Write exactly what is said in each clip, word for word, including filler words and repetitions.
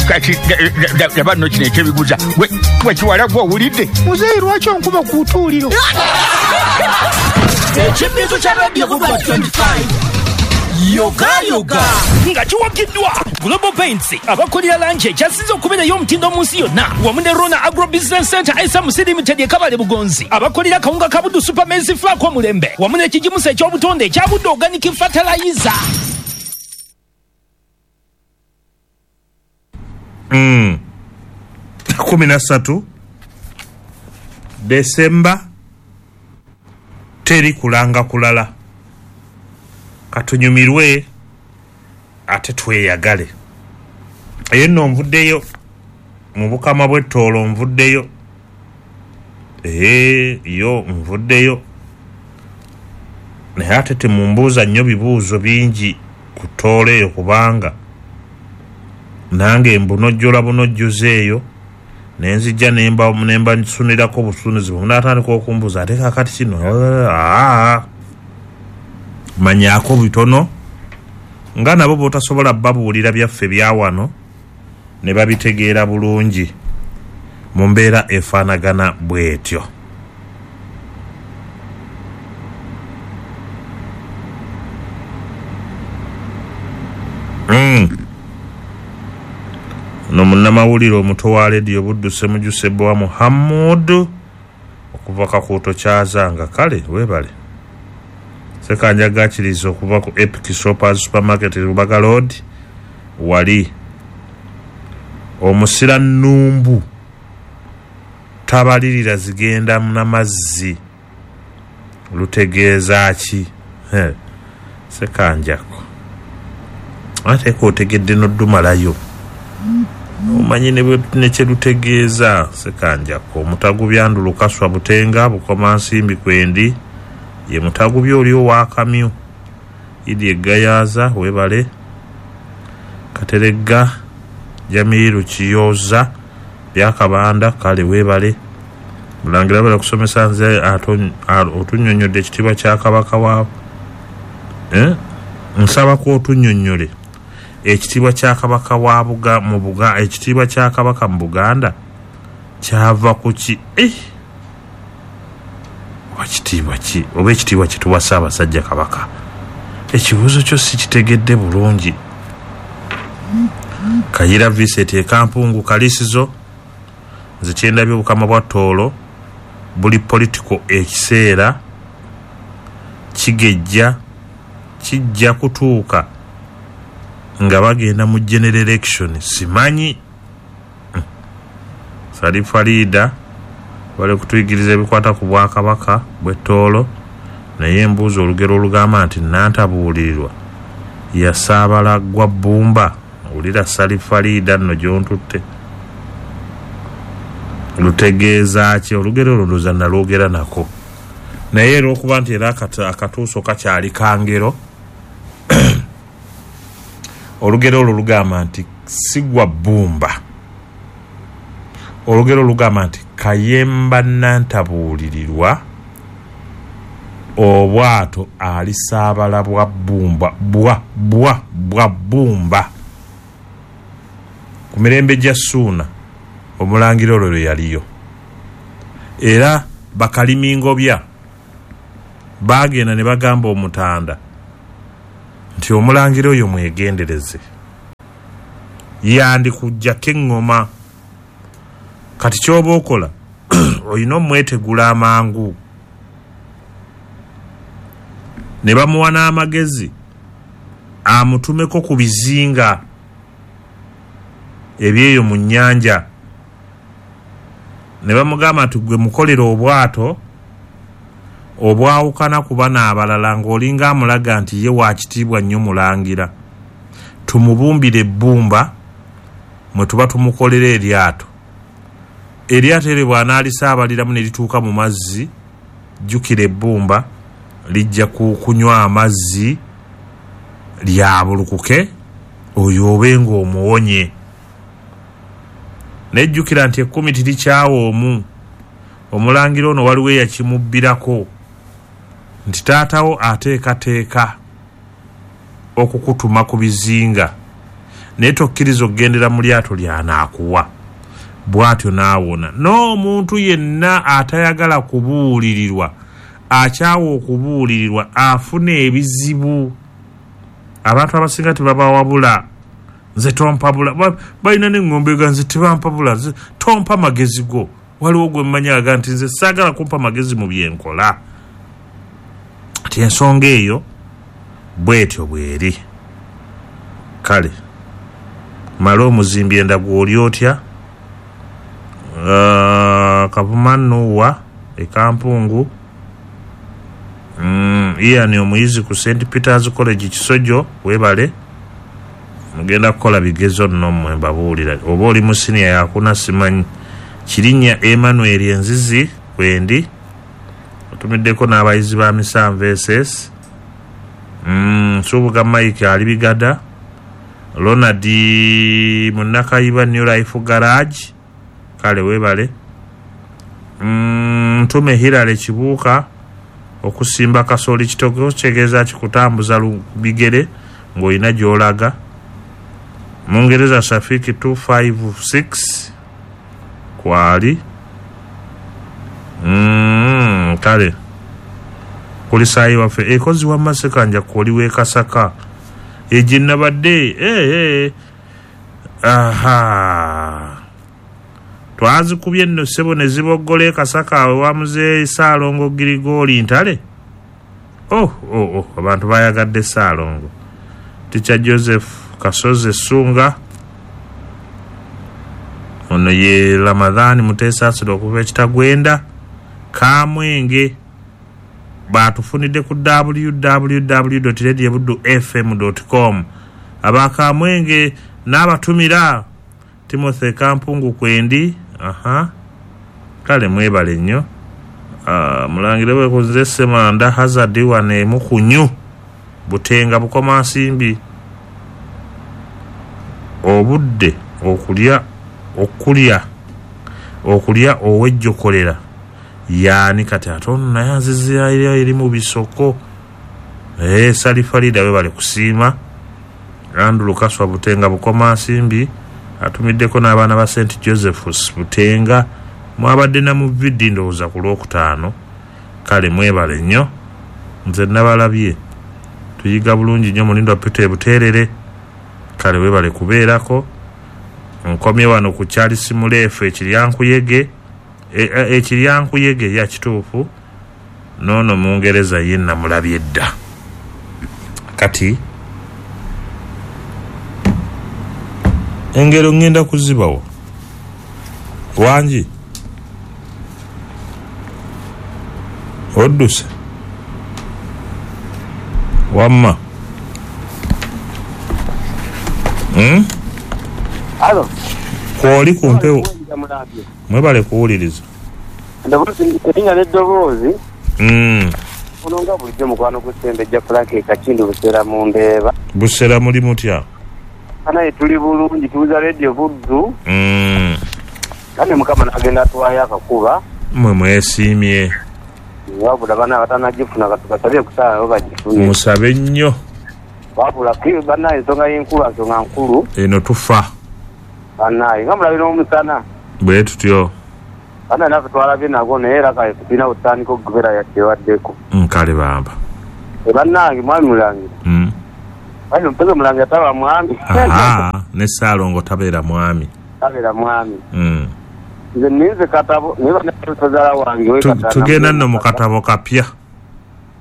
Kati laba nno kino ekyebiguza wekiwala gwe owulidde muzeeyi lwaki onkuba ku butuuliro. Ekibintu kya Radio Buba twenty-five Yoga Yoga nga kiwagiddwa Global Paints abakolera langi ekyasinze okubeerayo omutindo mu nsi yonna wamu ne Rona Agro Business Center S M C Limited e Kabale Bugonzi abakolera kawunga ka Buddu Super Maize Flour omulembe wamu n'ekigimusa eky'obutonde ekya Buddu Organic Fertilizer. Mm. kumi na ssatu Desemba teri kulanga kulala, katunyumirwe ate tweyagale. Eyo nno nvuddeyo mu bukama bw'ettoolo, nvuddeyo ee yo nvuddeyo, naye ate temumbuuza nnyo bibuuzo bingi ku ttoolo eyo kubanga nange mbunojjola bunojjoza eyo nenzijja nemba nemba nsunirako obusunizi bwe okumbuuza ate kaakati kino aa manyaako bitono nga nabo b'otasobola babuulira byaffe bya wano ne babitegeera bulungi mu mbeera efaanagana bw'etyo. Mm. No munnamawulire omuto wa Rediyo Buddu Ssemujju Ssebbowa Muhammad okuva Kakuuto Kyazanga, kale weebale. Ssekanjaga akiriza okuva ku Epic Shoppers Supermarket Lubaga Road wali. Omusira nnumbu tabalirira zigenda n'amazzi lutegeeza ki? Ssekanjako ate k'otegedde n'oddumalayo omanyi ne kye lutegeeza. Ssekanjako omutagubya Ndulukaswa Butenga Bukomansimbi kwendi ye mutagubya oli ow'akamyu Idi Egayaza weebale. Kateregga Jamiru Kiyoza Byakabanda kale weebale. Mulangira bala kusomesa nze otunnyonnyodde ekitiibwa kya Kabaka wa eh? Nsabako otunnyonnyole ekitiibwa kya Kabaka wa Buga mu Buga ekitiibwa kya Kabaka mu Buganda kyava ku ki? Eh! Oba kitiibwa ki? Oba ekitiibwa kituwa Ssaabasajja Kabaka? Ekibuuzo kyo si kitegedde bulungi. Kayira Vincent e Kampungu Kalisizo, nze kyendabye obukama bwa Tooro buli political ekiseera kigejja kijja kutuuka nga bagenda mu general election simanyi. Sali Farida bali kutuyigiriza ebikwata ku bwakabaka bw'ettoolo, naye embuuza olugero olugamba nti nantabuulirirwa yasaabala gwa bbumba. Owulira Sali Farida nno gy'ontutte lutegeeza ki? Olugero olwo ndowooza nalwogera nako, naye era okuba nti era akatuuso kakyali kangero olugero olwo lugamba nti sigwa bbumba. Olugero lugamba nti Kayemba nantabuulirirwa obwato alisaabala bwa bbumba bwa bwa bwa bbumba. Ku mirembe gya Ssuuna omulangira olwo lwe yaliyo, era bakalimingobya baagenda ne bagamba omutanda nti omulangira oyo mwegendereze yandikuggyako eŋŋoma. Kati ky'oba okola olina omwetegula amangu. Ne bamuwa n'amagezi amutumeko ku bizinga ebyeyo mu nnyanja, ne bamugamba nti gwe mukolera obwato obwawukana ku bano abalala ng'olinga amulaga nti ye wa kitiibwa nnyo mulangira, tumubumbire ebbumba mwe tuba tumukolera eryato. Eryato eryo bw'anaalisaabaliramu ne lituuka mu mazzi, jjukira ebbumba lijja kunywa amazzi lyabulukuke oyo obe ng'omuwonye. Nejjukira nti ekkumi tirikyawa omu. Omulangira ono waliwo eyakimubbirako nti taatawo ateekateeka okukutuma ku bizinga, Naye tokkiriza okugendera mu lyato ly'anaakuwa. Bw'atyo n'awona. N'omuntu yenna atayagala kubuulirirwa, akyawa okubuulirirwa, afuna ebizibu. Abantu abasinga tebabawabula. Nze tompabula. Balina n'eŋŋombe ga nze tebampabula. Nze tompa magezi go. Waliwo gwe mmanyi aga nti nze saagala kumpa magezi mu byenkola. Ati ensonga eyo bw'etyo bw'eri. Kale mala omuzimbi endagu oli otya? Uh, Kavuma Nuwa e Kampungu. Mm, Ian omuyizi ku Saint Peter's College Kisojo, webale. Mugenda kukola bigezo nno mmwe mbabuulira. Oba oli mu siniya yakuna simanyi. Kirinnya Emmanuel Enzizi wendi. Otumiddeko n'abayizi ba Misanvu S S. Mm, Nsubuga Mike ali Bigada. Ronald Munnakayiba New Life Garage. Kale webale. Mm, Ntume Hilale Kibuuka okusimba kasooli kitoko kitegeeza kikutambuza bigere ng'olina gy'olaga. Mungereza Shafiki two five six kwali. Mm, kale kulisaayi waffe ekozi wa Masekanja kwoli w'e Kasaka egye nabadde eh, eh. Aha, twazikubye nno ssebo ne ziboggola e Kasaka awe wa Muzeeyi Ssaalongo Girigooli Ntale. Oh, oh, oh, abantu bayagadde Ssaalongo. Teacher Joseph Kasozi Ssunga ono ye Ramadhani Muteesaasira okuva e Kitagwenda. Kamwenge batufunidde ku w w w dot radio buddu f m dot com. Abakamwenge n'abatumira Timothy Kampungu kwendi. Aha, kale mwebale nnyo. Uh, mulangire wekoze Ssemanda Hazard wane Mukunyu Butenga Bukoma Nsimbi. Obudde okulya okulya okulya owejjokolera yaani kati ate ono naye anzizira eri mu bisoko. Eh, Salifalida webale kusiima. Andrew Kaswa Butenga Bukoma Nsimbi atumiddeko n'abaana ba Saint Joseph's Butenga. Mwabadde na mu vidi ndowooza ku Lwokutaano. Kale mwebale nnyo, nze nabalabye. Tuyiga bulungi nnyo Mulindwa Peter Buteerere. Kale webale kubeerako. Nkomye wano ku Charles Muleefu ekiryankuyege ekiryankuyege ya kituufu n'ono Mungereza ye namulabye dda. Kati engero ngenda kuzibawo wangi odduse wamma. Hmm? Alo. Kwoli ku mpewo. Mwebale kuwuliriza. Erinnya n'eddoboozi. Mm. Ono nga bulijjo mukwano gw'Ssembejja Frank Kakindi Busera mu Ndeeba. Busera muli mutya? Naye tuli bulungi, tuwuliza Radio Buddu. Mm. Kale Mukama n'agenda atuwaayo akakuba. Mmwe mwesiimye. Wabula bana abatanagifuna katukasabye kusaba nabo bagifune. Musabe nnyo. Wabula bannaye ensonga y'enkuba nsonga nkulu. Eno tufa. Bannaye nga mulabye n'omusana. Bwe tutyo. Bannaye naffe twalabye nagwo naye era kale tulina butandika okubeera yakyewaddeko. Nkale bamba. Bannange mwami Mulangira. Mm. Mwami Mpeze Mulangira taba mwami. Aha, ne Ssaalongo tabeera mwami. Tabeera mwami. Mm. Nze ninze katabo naye bannazaala wange we katana. Tugenda nno mu katabo kapya.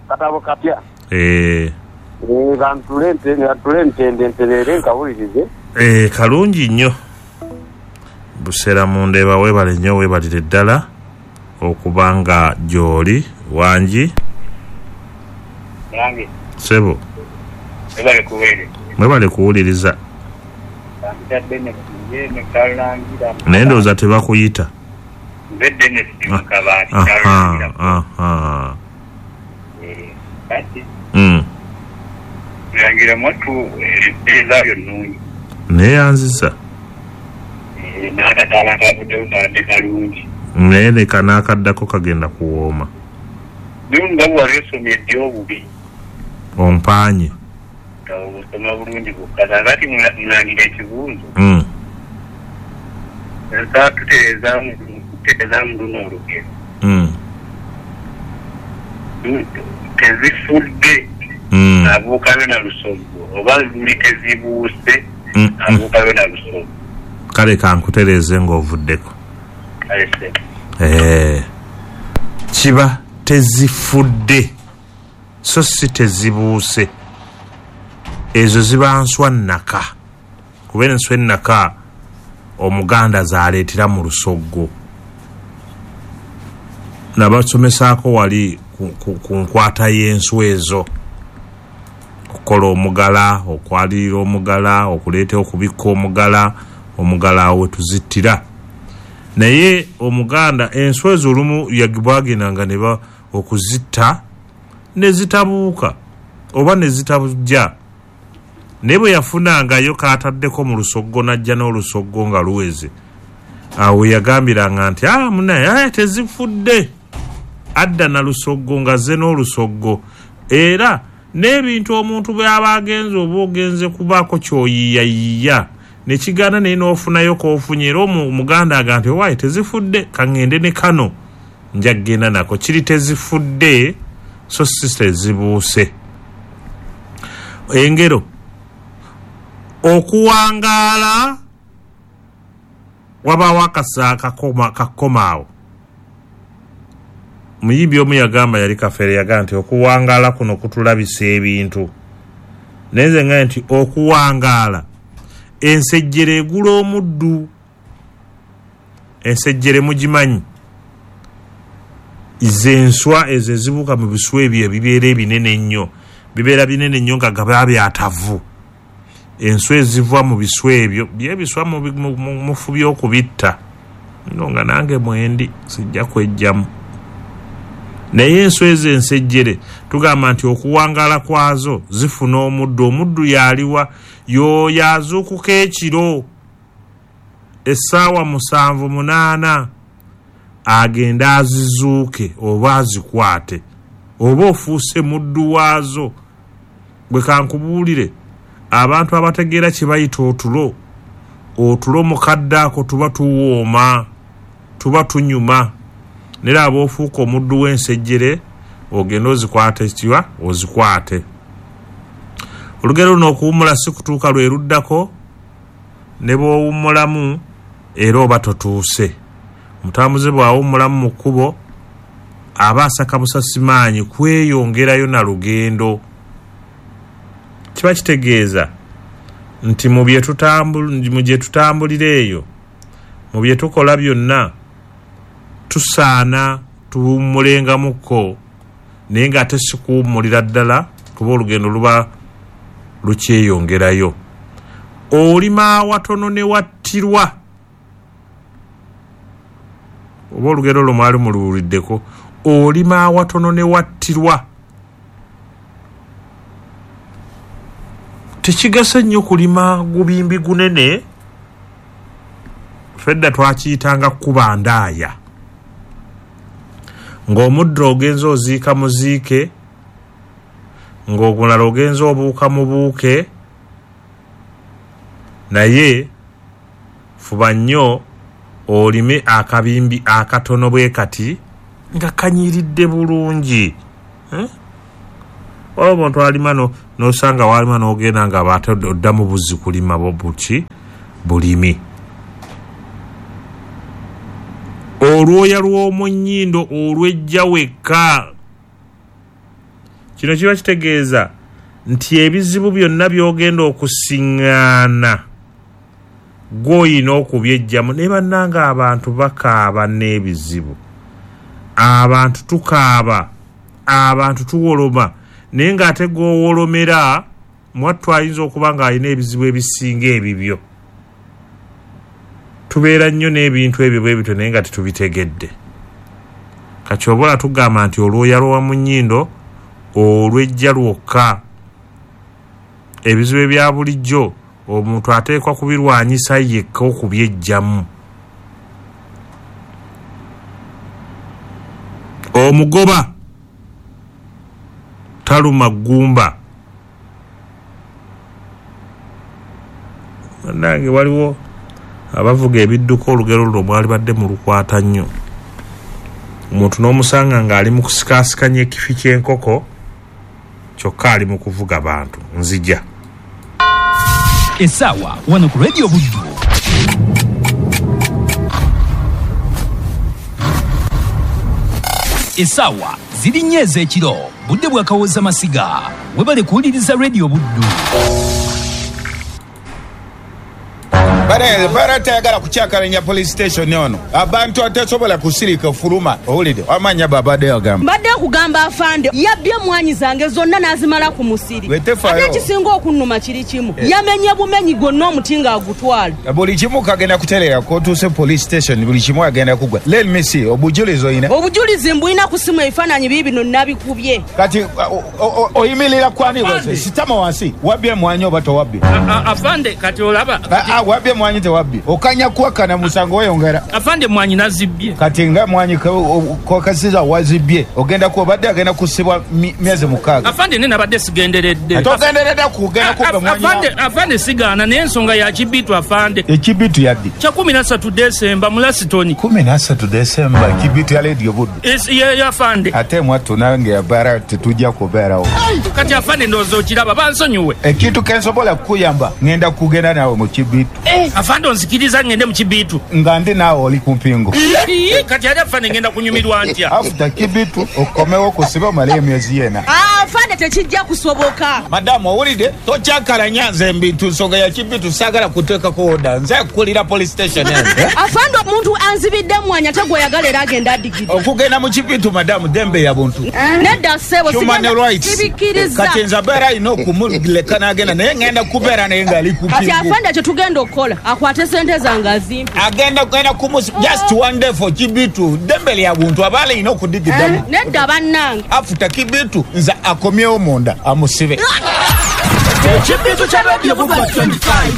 Katabo kapya. Eh. Eh, bantule ntende ntende nterere nkawulirize. Eh, kalungi nnyo. Busera mu Ndeeba weebale nnyo, weebalire ddala okubanga gy'oli wangi. Mulange. Ssebo. Mwebale kuweereza. Mwebale kuwuliriza. Naye ndowooza tebakuyita. Nze Dennis Mukabaati Kalulangira. Aha. Eh, kati. Mm. Mulangira mwattu empeereza yo nnungi. Neeyanzizza. Eh, n'akataala kavuddeyo kabadde kalungi. Naye leka n'akaddako kagenda kuwooma. Naye nga bwe wali osomye ddi obubi. Ompaanye. Obusoma bulungi bwokka. Kakati mulangira ekibuuzo. Mm. Nsaba tutereezaamu tutereezaamu luno olugero. Mm. Tezifudde Mm. abuukayo na lusoggo oba luli tezibuuse Mm, mm. abuukayo na lusoggo. Kale kankutereeze ng'ovuddeko. Kale ssebo. Eh, kiba tezifudde so si tezibuuse. Ezo ziba nswa nnaka, kuba enswa ennaka Omuganda zaleetera mu lusoggo. Nabasomesaako wali ku, ku, ku nkwata y'enswa ezo, okukola omugala, okwalirira omugala, okuleeta okubikka omugala, omugala awo we tuzittira. Naye Omuganda enswa ezo olumu yagibwagendanga ne ba okuzitta ne zitabuuka oba ne zitabujja. Naye bwe yafunangayo k'ataddeko mu lusoggo n'ajja n'olusoggo nga luweze, awo yagambiranga nti ah munaye ah, tezifudde, adda na lusoggo nga ze n'olusoggo. Era n'ebintu omuntu bw'aba agenze oba ogenze kubaako ky'oyiiyayiiya ne kigaana naye n'ofunayo k'ofunye, era omu- Omuganda agamba nti owaaye tezifudde, kaŋŋende ne kano nja kgenda nako. Kiri tezifudde so si tezibuuse. Engero okuwangaala wabaawo akasa kakoma kakomaawo. Muyimbi omu yagamba, yali Kafeere, yagamba nti okuwangaala kuno kutulabisa ebintu. Naye nze ngambye nti okuwangaala ensejjere egula omuddu. Ensejjere mugimanyi, ze enswa ezo ezibuuka mu biswa ebyo ebibeera ebinene ennyo, bibeera binene nnyo nga gaba byatavu. Enswa eziva mu biswa ebyo byebiswa mufubye okubitta no nga nange mwendi sijja kwejjamu. Naye enswa ezo ensejjere tugamba nti okuwangaala kwazo zifuna omuddu. Omuddu yaliwa? Y'oyo azuukuka ekiro essaawa musanvu munaana agenda azizuuke oba azikwate, oba ofuuse muddu waazo. Bwe kankubuulire, abantu abategeera kye bayita otulo, otulo mukadde ako tuba tuwooma, tuba tunyuma. Naye aba ofuuka omuddu w'ensejjere ogenda ozikwate kiwa ozikwate. Olugero luno okuwummula si kutuuka lwe luddako, ne bw'owummulamu era oba totuuse. Omutambuze bw'awummulamu mu kkubo aba asaka busasimaanyi kweyongerayo na lugendo. Kiba kitegeeza nti mu bye tutambul- mu gye tutambulira eyo, mu bye tukola byonna, tusaana tuwummulengamukko, naye ng'ate si kuwummulira ddala kuba olugendo luba lukyeyongerayo. Olima awatono ne wattirwa. Oba olugero olwo mwali muluwuliddeko, olima awatono ne wattirwa. Tekigasa nnyo kulima gubimbi gunene, fedda twakiyitanga kuba ndaaya, ng'omuddo ogenze oziika muziike, ng'ogulala ogenze obuuka mubuuke. Naye fuba nnyo olime akabimbi akatono bwe kati nga kanyiridde bulungi. Eh? Waliwo omuntu alima no- n'osanga walima n'ogenda nga ate oddamu buzzi kulima buki bulimi. Olwoya lw'omu nnyindo olwejja wekka. Kino kiba kitegeeza nti ebizibu byonna by'ogenda okusiŋŋaana gw'oyina okubyejjamu. Naye bannange abantu bakaaba n'ebizibu, abantu tukaaba, abantu tuwoloma, naye ng'ate gw'owolomera mwattu ayinza okuba ng'alina ebizibu ebisinga ebibyo. Tubeera nnyo n'ebintu ebyo bwe bityo naye nga tetubitegedde. Kati obola tugamba nti olwoya lwa mu nnyindo olwejja lwokka. Ebizibu ebya bulijjo omuntu ateekwa kubirwanyisa yekka okubyejjamu. Omugoba taluma ggumba. Nange waliwo abavuga ebidduka olugero luno mwali badde mu lukwata nnyo. Omuntu n'omusanga ng'ali mu kusikaasikanya ekifi ky'enkoko kyokka ali mu kuvuga bantu. Nzija. Essaawa wano ku Radio Buddu. Essaawa ziri nnya ez'ekiro, budde bwa Kawooza Masiga. Webale kuwuliriza Radio Buddu. Bare bara tayagala kucyakalanya police station ono. Abantu atasobola kusirika fuluma. Owulidde amanya babadde agamba. Mbadde kugamba afande yabbye mwanyi zange zonna n'azimala ku musiri. Ate kisinga okunnuma kiri kimu. Eh. Yamenye bumenyi gwonna omuti ng'agutwala. Buli kimu kagenda kuterera kotuuse police station buli kimu agenda kugwa. Let me see obujulizi oyina. Obujulizi mbulina ku simu ebifaananyi biibino nabikubye. Kati oyimirira kwani wese sitama wansi wabbye mwanyi oba towabbye. Afande kati olaba. Wabbye mwanyi tewabbi. Okanya kuwakana musango weyongera. Afande mwanyi nazibbye. Kati nga mwanyi kokasiza wazibbye. Ogenda kuba badde agenda kusibwa myezi mukaaga. Afande nene abadde sigenderedde. Togenderedde kugenda kubba mwanyi. Afande afande sigaana naye ensonga ya kibitu afande. Ekibitu yaddi. Kya kumi na ssatu Desemba mu Lasitoni. Kumi na ssatu Desemba kibitu ya Radio Buddu. Ye afande. Ate mwattu nange abara tetujja kubeerawo. Kati afande ndowooza okiraba bansonyiwe. Ekintu kensobola kukuyamba ngenda kugenda naawe mu kibitu. Afande onzikiriza ngende mu kibitu. Nga ndi naawe oli ku mpingo. Kati ali afande ngenda kunyumirwa ntya. After kibitu okomewo kusiba omale emyezi yena. Afande tekijja kusoboka. Madamu owulidde tokyakalanya nze mbintu nsonga ya kibitu saagala kuteekako oda nze kukulira police station eno. Afande omuntu anzibidde mwanya ate gw'oyagala era agenda adigidde. Okugenda mu kibitu madamu dembe ya buntu. Nedda ssebo sibikkiriza. Kati nze abeera alina okumuleka n'agenda naye ngenda kubeera naye ng'ali ku mpingo. Kati afande kye tugenda okukola akwate sente zange azimpe. Agenda kugenda kumusi just one day for kibitu dembe lya buntu abaala alina okudigiddamu. Nedda bannange. Afuta kibitu nze akomyewo munda amusibe. Ekibitu kya Radio Buddu twenty-five.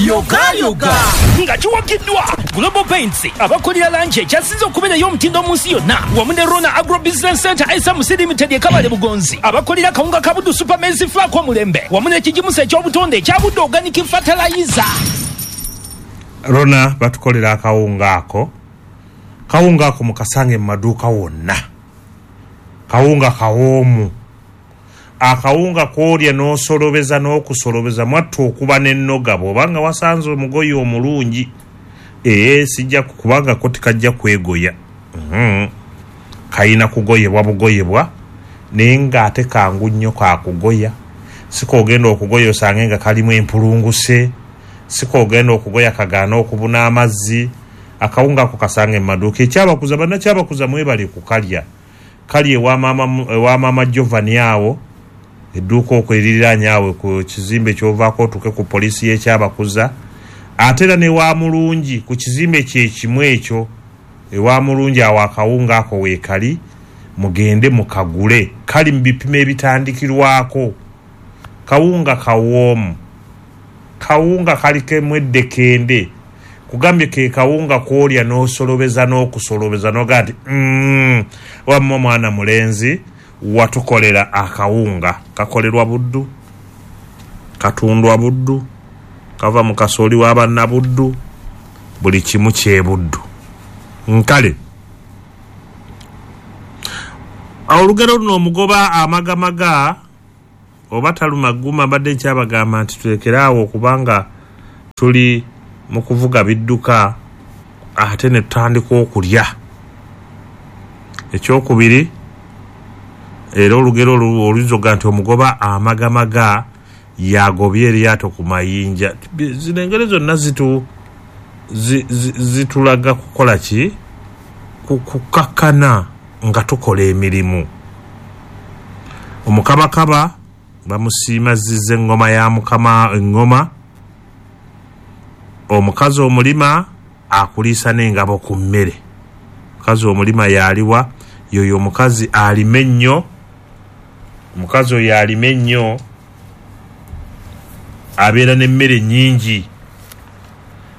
Yoga yoga nga kiwagiddwa Global Paints abakolera langi ekyasinze okubeerayo omutindo mu nsi yonna wamu ne Rona Agro Business Center S M C Limited e Kabale Bugonzi abakolera kawunga ka Buddu Super Maize Flour omulembe wamu n'ekigimusa eky'obutonde ekya Buddu Organic Fertilizer. Rona batukolera akawunga ako. Kawunga ako mukasange mu maduuka wonna. Kawunga kawoomu. Akawunga koolya n'osolobeza n'okusolobeza mwattu okuba n'ennoga bw'obanga wasanze omugoye omulungi ee sijja kubanga ko tekajja kwegoya. Mm-hmm. Kayina kugoyebwa bugoyebwa naye ng'ate kangu nnyo kakugoya. Sikoogenda okugoya osange nga kalimu empulunguse, sikoogenda okugoya kagaana okubuna amazzi. Akawunga ako kasange mu maduuka. Ekyabakuza bannakyabakuza mwebale kukalya. Kali ewa maama ewa maama Giovanni awo edduuka okwo eririraanye awo ku kizimbe ky'ovaako otuuke ku poliisi y'ekyabakuza. Ate era ne wa Mulungi ku kizimbe kye kimu ekyo ewa Mulungi awo akawunga ako weekali mugende mukagule. Kali mu bipimo ebitandikirwako. Kawunga kawoomu. Kawunga kaliko emweddekende. Kugambye ke kawunga koolya n'osolobeza n'okusolobeza n'ogaa nti mm, wamma omwana mulenzi watukolera akawunga. Kakolerwa Buddu, katundwa Buddu, kava mu kasooli w'abannabuddu, buli kimu kyebuddu. Nkale olugero luno omugoba amagamaga oba taluma gguma mbadde nkyabagamba nti tulekere awo okubanga tuli mu kuvuga bidduka ate ne tutandika okulya. Ekyokubiri era olugero oluzoga nti omugoba amagamaga yagobye eryato ku mayinja. Zino engeri zonna zitu zi, zi, zitulaga kukola ki? Kukakkana nga tukola emirimu. Omukabakaba bamusiima zize engoma ya mukama engoma. Omukazi omulima akuliisa n'engabo ku mmere. Omukazi omulima yaliwa yoyo omukazi alime ennyo. Omukazi oyo alime ennyo abeera n'emmere nnyingi.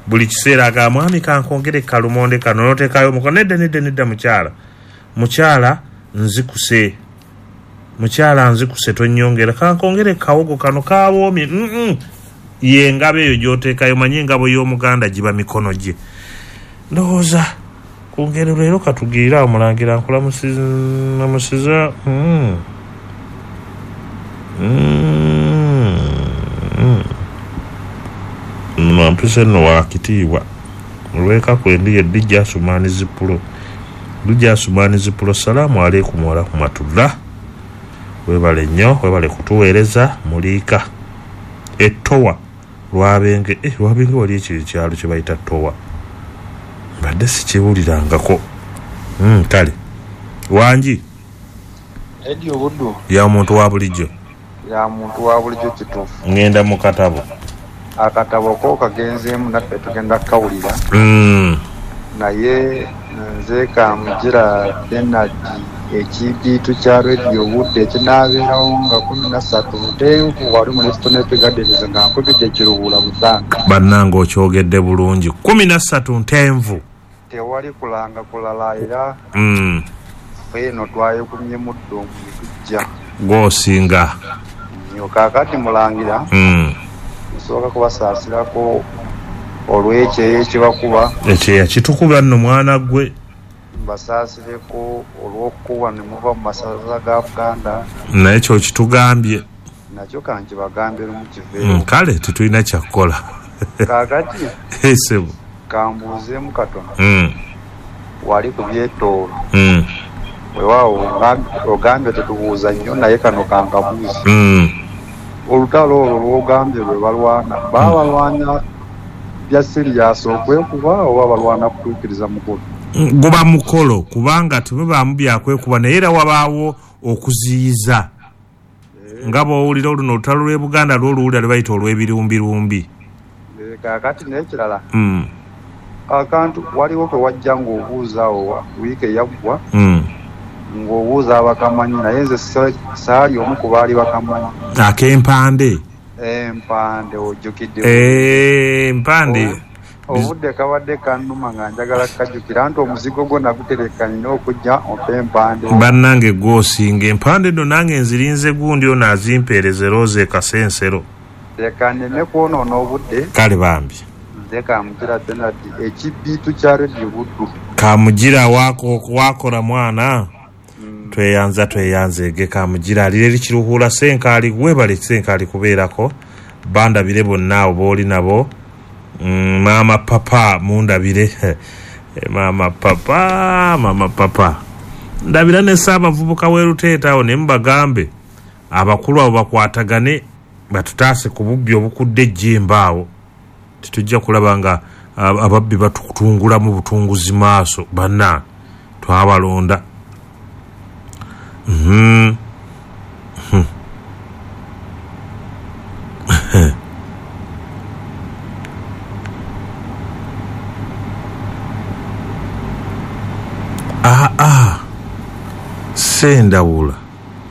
Buli kiseera agamba mwami kankongere kalumonde kano n'oteekayo omukono. Nedda nedda nedda mukyala. Mukyala nzikuse. Mukyala nzikuse tonnyongera. Kankongere kawogo kano kawoomye. Mm-mm. Ye engabo eyo gy'oteekayo, manye engabo y'Omuganda giba mikono gye. Ndowooza ku ngero leero katugirire awo. Mulangira, nkulamusiza. mm. Mm. Mm. Mpise nno wakitiibwa olweka kwendi ye Dijja Asumaani Zipulo. Dijja Asumaani Zipulo, salaamu aleikum warahmatullah. Webale nnyo, webale kutuweereza. Muliika ettowa Lwabenge. eh, Lwabenge wali ekyo ekyalo kye bayita Towa, mbadde sikiwulirangako. mm, kale wangi. Eddie Obuddu. Ya muntu wa bulijjo. Ya muntu wa bulijjo, kituufu. Ngenda mu katabo. Akatabo ko kagenzeemu, naffe tugenda kukawulira. mm. Naye nze Kamugira Benard, ekibiitu kya Radio Budde ekinaabeerawo nga kumi na ssatu ntenvu wali mu Lestonep Gardens nga nkubidde Kiruhura Busanga. Bannange, okyogedde bulungi, kumi na ssatu ntenvu. Tewali kulanga kulala era mm. ffe eno twayekumye muddo tujja. Gw'osinga. Nnyo. Kaakati mulangira, mm. nsooka kubasaasirako olw'ekyeyo ekibakuba. Ekyeya kitukuba nno, mwana gwe. Mbasaasireko olw'okukuba ne muva mu masaza ga Buganda. Naye kyo kitugambye. Nakyo kankibagambe lumu kiveewo. Mm, kale tetulina kyakukola. Kaakati esebo kambuuzeemu katono. mm. Wali ku byetoolo. mm. Weewaawo ogambye tetubuuza nnyo, naye kano kankabuuze. mm. Olutalo olwo lw'ogambye lwe balwana, baba balwana bya serious okwekuba oba balwana kutuukiriza mukolo? Guba mukolo, kubanga temubaamu byakwekuba, naye era wabaawo okuziyiza, nga bw'owulira oluno olutalo lw'e Buganda lw'oluwulira lwe bayita olw'ebirumbirumbi. Eh, kaakati n'ekirala, mm. akantu waliwo ke wajja ng'obuuza awo wiiki eyaggwa, mm. ng'obuuza abakamanyi, naye nze saali omu ku baali bakamanyi. Ak'empande. Empande, ojjukidde? Empande. Obudde kabadde kannuma nga njagala kukajjukira nti omuzigo gwo nagutereka, nina okujja ompe empande. Bannange, gw'osinga. Empande nno nange nzirinze gundi ono azimpeereze, Rose Kasensero. Leka nneme kwonoona obudde. Kale bambi. Nze Kamugira Benard, ekibiitu kya Radio Buddu. Kamugira, wakola mwana. Tweyanza, tweyanze. Ege Kamugira alira eri Kiruhura Senkaali. Webale Senkaali kubeerako. Bandabire bonna abo booli nabo. mm, maama papa mundabire, maama papa, maama papa ndabira ne Ssaabavubuka w'eruteeta awo, ne mubagambe abakulu abo bakwatagane batutaase ku bubbi obukudde ejjemba awo. Tetujja kulaba nga ababbi batutungulamu butunguzi maaso. Banna twabalonda. mm -hmm. Ah ah, Sendawula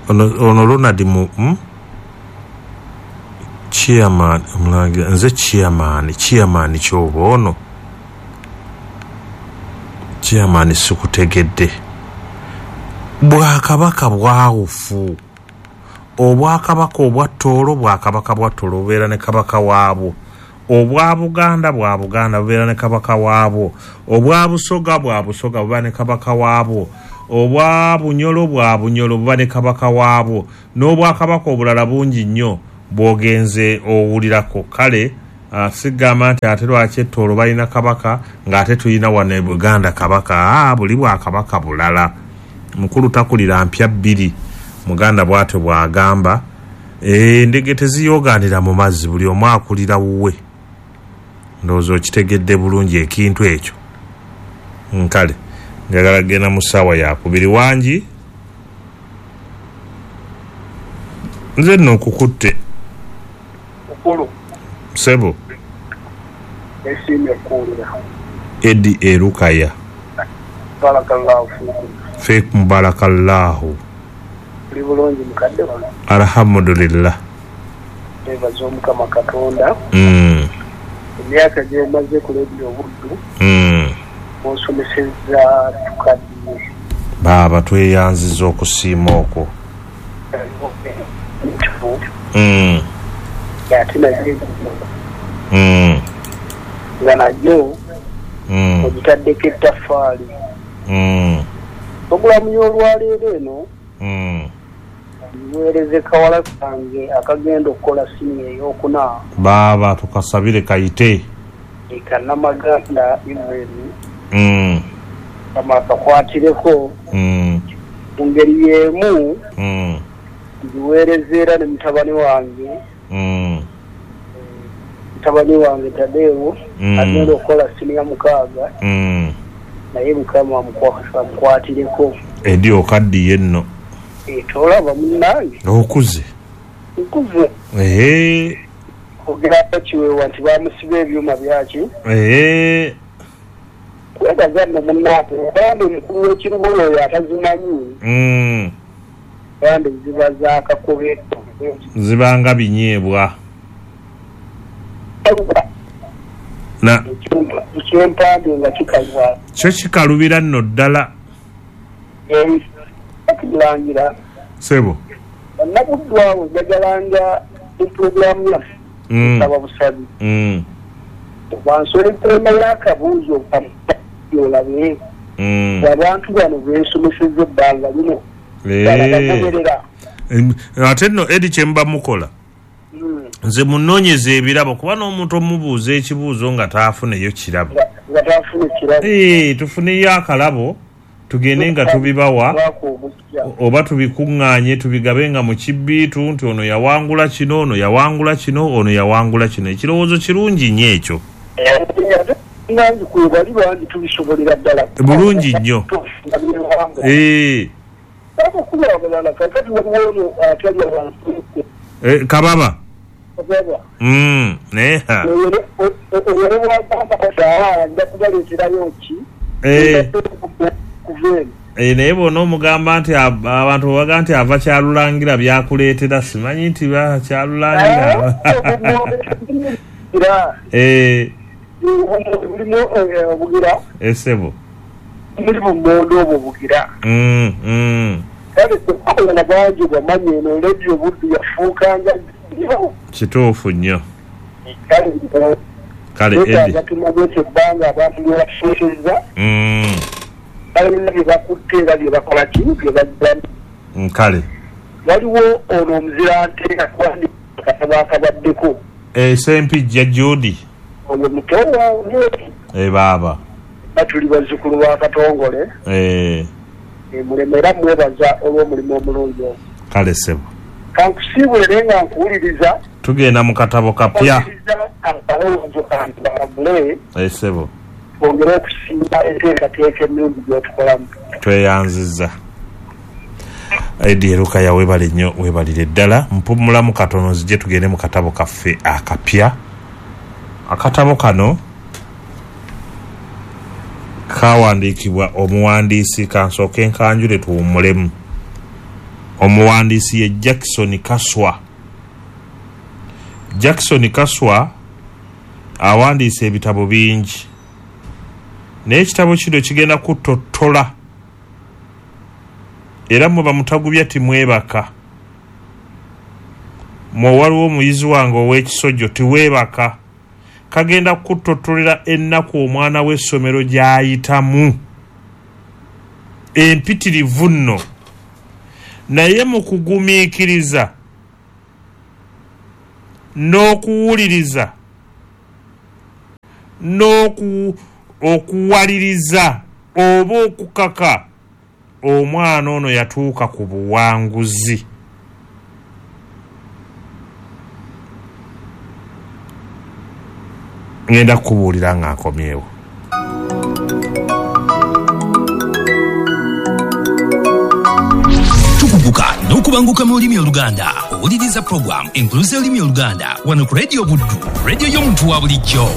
ono, ono Ronald mu hmm? Chairman omulangira, nze chairman, chairman kyoba ono chairman, sikutegedde. Bwakabaka bwawufu, obwakabaka obwa Tooro bwakabaka bwa Tooro, bubeera ne kabaka waabwo. Obwa Buganda bwa Buganda, bubeera ne kabaka waabwo. Obwa Busoga bwa Busoga, buba ne kabaka waabwo. Obwa Bunyolo bwa Bunyolo, buba ne kabaka waabwo, n'obwakabaka obulala bungi nnyo bw'ogenze owulirako. Kale uh, sigamba nti ate lwaki Ettoolo balina kabaka ng'ate tulina wano e Buganda kabaka. Aa, buli bwakabaka bulala. Mukulu takulira mpya bbiri, Muganda bw'atyo bw'agamba. Endege teziyoogaanira mu mazzi, buli omu akulira wuwe. Ndowooza okitegedde bulungi ekintu ekyo. Nkale njagala genda mu ssaawa yakubiri. Wangi, nze nno nkukutte. Mukulu. Sebo. Esiimye okuwulira. Edi Erukaya. Barakallahu fiikum. Fiikum barakallahu. Oli bulungi mukadde wange? Alhamdulillah. Twebaza Omukama Katonda. Mm. Emyaka gy'omaze ku Leediyo Buddu, Mm. osomesezza tukaddiye. Baaba, tweyanziza okusiima okwo. Ntufu. Mm. Ate naye Mm. Nga nayo mm. ogitaddeko ettaffaali. Mm. Puroguramu y'olwaleero eno mm. ngiweereze kawala kange akagenda okukola siniya ey'okuna. Baaba tukasabire kayite. Kanamaganda Ivan. Mm. Kama akakwatireko. Mm. Mu ngeri y'emu mm. ngiweereza era ne mutabani wange. Mm. Mutabani wange Tadeo mm. agenda okukola siniya mukaaga. Mm. Naye Mukama amukwatireko. Edi okaddiye nno. Tolaba munnange. Okuze. Nkuze. Ehe. Ogerako kiweewa nti bamusiba ebyuma byaki. Ehe. Kwebaza nno munnange obambi omukulu w'ekirugo oyo atazimanyi. Mm. Bambi ziba za kakobe. Zibanga binyeebwa. Na ekyempambi nga kikalwa. Kyo kikalubira nno ddala. Ekirangira. Sebo. Bannabuddu awo njagalanga puroguramu yaffe. Nsaba busabi. Mm. Bansole tema y'akabuuzo olabe. Mm. Abantu bano beesomesezza ebbanga lino. Eh. Ate nno Edi kye muba mukola. Nze munoonyeza ebirabo kuba n'omuntu omubuuza ekibuuzo nga taafuneyo kirabo. Nga taafune kirabo. Eh, tufuneyo akalabo tugende nga tubibawa oba tubikuŋŋaanye tubigabe nga mu kibbiitu nti ono yawangula kino, ono yawangula kino, ono yawangula kino. Ekirowoozo kirungi nnyo ekyo. Nange kwe bali bangi tubisobolera ddala. Bulungi nnyo. Eh. Eh, kababa. Mm, neha. Eh. Eh, naye bw'ono omugamba nti abantu baga nti ava Kyalulangira byakuleetera simanyi nti ba Kyalulangira. Eh. Esebo. Mulimu mmondo obwo bugira. Mm, mm. Kale kukola bangi bamanyi eno Radio Buddu yafuukanga kituufu nnyo. Kale Kale Edi. Tumaze ebbanga abantu lye bafuusizza. Mm. Balina bye bakutte era bye bakola ki bye bajjamu. Kale. Waliwo ono omuzirante akuwandiika akatabo akabaddeko. Eh, Ssempijja Judy. Oyo muto wange. Eh, baaba. Batuli bazzukulu ba Katongole. Eh. Mulemera mwebaza olw'omulimu omulungi ogwo. Kale ssebo. Kankusiibule nga nkuwuliriza. Tugenda mu katabo kapya. Akalowoozo kange balabule. Eh, ssebo. Twongere okusimba enteekateeka ennungi gy'otukolamu. Tweyanzizza. Edi Erukaya weebale nnyo, weebalire ddala. Mpummulamu katono nzije tugende mu katabo kaffe akapya. Akatabo kano kawandiikibwa omuwandiisi, kansooke nkanjule tuwummulemu. Omuwandiisi ye Jackson Kaswa. Jackson Kaswa awandiise ebitabo bingi, naye ekitabo kino kigenda kutottola era mmwe bamutagubya timwebaka. Mmwe waliwo omuyizi wange ow'ekisojjo tiweebaka. Kagenda kutottolera ennaku omwana w'essomero gy'ayitamu empitirivu nno, naye mu kugumiikiriza n'okuwuliriza n'oku okuwaliriza oba okukaka omwana ono yatuuka ku buwanguzi. Ngenda kukubuulira nga nkomyewo. Tukuguka n'okubanguka mu lulimi Oluganda. Owuliriza program enkuluza y'olulimi Oluganda wano ku Radio Buddu, radio y'omuntu wa bulijjo.